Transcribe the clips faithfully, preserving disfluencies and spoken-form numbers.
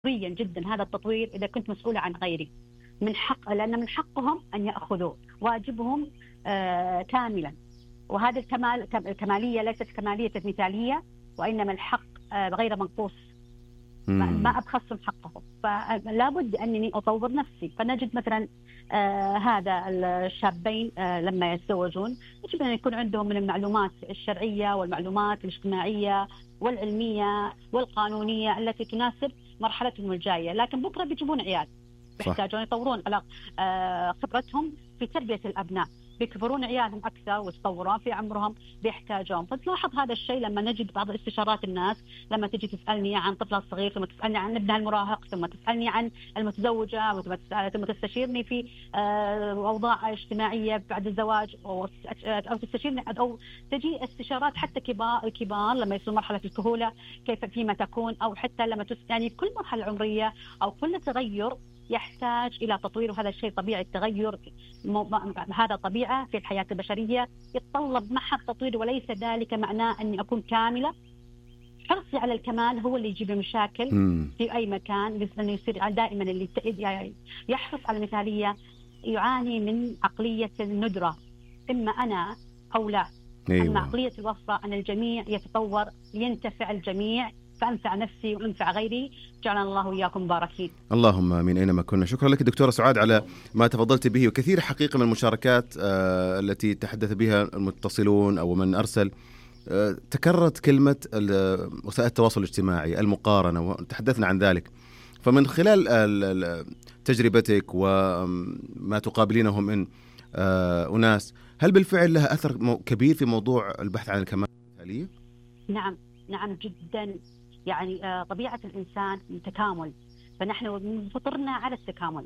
عفويا جدا هذا التطوير إذا كنت مسؤولة عن غيري، من حق، لأن من حقهم أن يأخذوا واجبهم آه كاملا. وهذا الكمال الكمالية ليست كمالية مثالية، وإنما الحق آه غير منقوص، ما أبخسهم حقهم. فلا بد أنني أطور نفسي. فنجد مثلا آه هذا الشابين آه لما يتزوجون يجب أن يكون عندهم من المعلومات الشرعية والمعلومات الاجتماعية والعلمية والقانونية التي تناسب مرحلتهم الجاية. لكن بكرة بيجيبون عيال يحتاجون يطورون على آه خبرتهم في تربية الأبناء، بيكبرون عيالهم أكثر ويتطورون في عمرهم بيحتاجون. فتلاحظ هذا الشيء لما نجد بعض استشارات الناس لما تجي تسألني عن طفلها الصغير، ثم تسألني عن ابنها المراهق، ثم تسألني عن المتزوجة، ثم تستشيرني في أوضاع اجتماعية بعد الزواج، أو تستشيرني أو تجي استشارات حتى كبار الكبار لما يصل مرحلة الكهولة كيف فيما تكون، أو حتى لما تس يعني كل مرحلة عمرية أو كل تغير يحتاج إلى تطوير. وهذا الشيء طبيعي، التغير هذا طبيعة في الحياة البشرية، يتطلب معها التطوير، وليس ذلك معناه أني أكون كاملة. حرصي على الكمال هو اللي يجيب المشاكل في أي مكان، لأنه يصير دائما اللي يحرص على المثالية يعاني من عقلية الندرة، إما أنا أو لا. أيوة. أما عقلية الوفرة أن الجميع يتطور، ينتفع الجميع، فأنفع نفسي وأنفع غيري، جعلنا الله وإياكم مباركين. اللهم من أينما كنا. شكرا لك دكتورة سعاد على ما تفضلت به، وكثير حقيقة من المشاركات آه التي تحدث بها المتصلون أو من أرسل آه تكررت كلمة وسائل التواصل الاجتماعي، المقارنة، وتحدثنا عن ذلك. فمن خلال تجربتك وما تقابلينه من آه أناس، هل بالفعل لها أثر كبير في موضوع البحث عن الكمال المثالية؟ نعم نعم جدا. يعني آه طبيعة الإنسان تكامل، فنحن فطرنا على التكامل.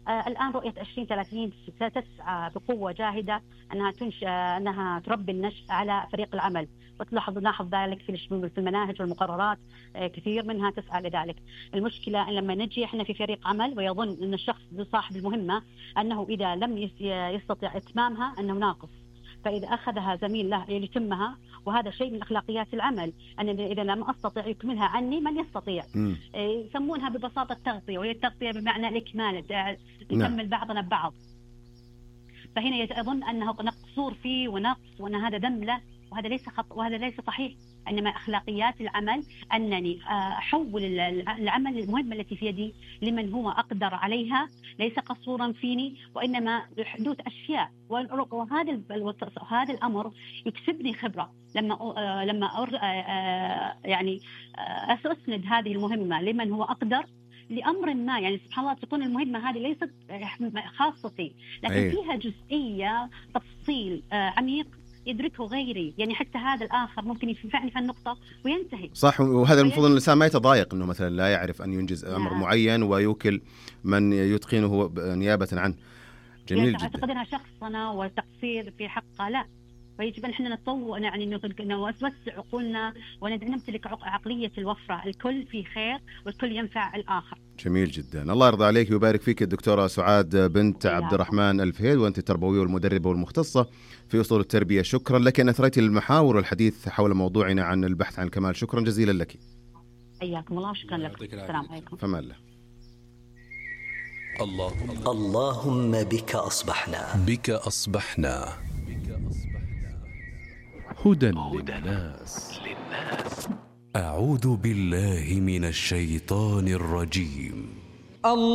آه الآن رؤية عشرين ثلاثين ستسعى بقوة جاهدة أنها تنشأ أنها تربي النشء على فريق العمل، وتلاحظ نلاحظ ذلك في في المناهج والمقررات، آه كثير منها تسعى لذلك. المشكلة أن لما نجي إحنا في فريق عمل ويظن أن الشخص صاحب المهمة أنه إذا لم يستطيع إتمامها أنه ناقص، فإذا أخذها زميل له يتمها، وهذا شيء من أخلاقيات العمل، أن إذا لم أستطيع يكملها عني من يستطيع. م. يسمونها ببساطة التغطية، وهي التغطية بمعنى الإكمال، نكمل بعضنا ببعض. فهنا يظن أنه قصور فيه ونقص وأن هذا ذم له، وهذا ليس خط، وهذا ليس صحيح. إنما أخلاقيات العمل أنني أحول العمل المهمة التي في يدي لمن هو أقدر عليها، ليس قصورا فيني، وإنما حدوث أشياء. وهذا هذا الأمر يكسبني خبرة لما لما يعني أسند هذه المهمة لمن هو أقدر لأمر ما. يعني سبحان الله تكون المهمة هذه ليست خاصتي، لكن أيه. فيها جزئية تفصيل عميق يدركه غيري، يعني حتى هذا الآخر ممكن ينفعني في النقطة وينتهي. صح. وهذا المفروض أن الإنسان ما يتضايق أنه مثلا لا يعرف أن ينجز أمر نعم. معين ويوكل من يتقنه نيابة عنه. جميل جدا. أعتقد أنها شخصنا وتقصير في حقه، لا. فيجب أن احنا نتطور، يعني نوسع عقولنا ونمتلك عقلية الوفرة، الكل في خير والكل ينفع الآخر. جميل جدا. الله يرضى عليك ويبارك فيك الدكتورة سعاد بنت عبد الرحمن الفهيد، وأنت التربوية والمدربة والمختصة في أصول التربية. شكرا لك أن أثريت المحاور والحديث حول موضوعنا عن البحث عن الكمال. شكرا جزيلا لك. حياكم الله. شكرا لكم. السلام عليكم. فما الله. اللهم اللهم بك أصبحنا بك أصبحنا هدى للناس. أعوذ بالله من الشيطان الرجيم.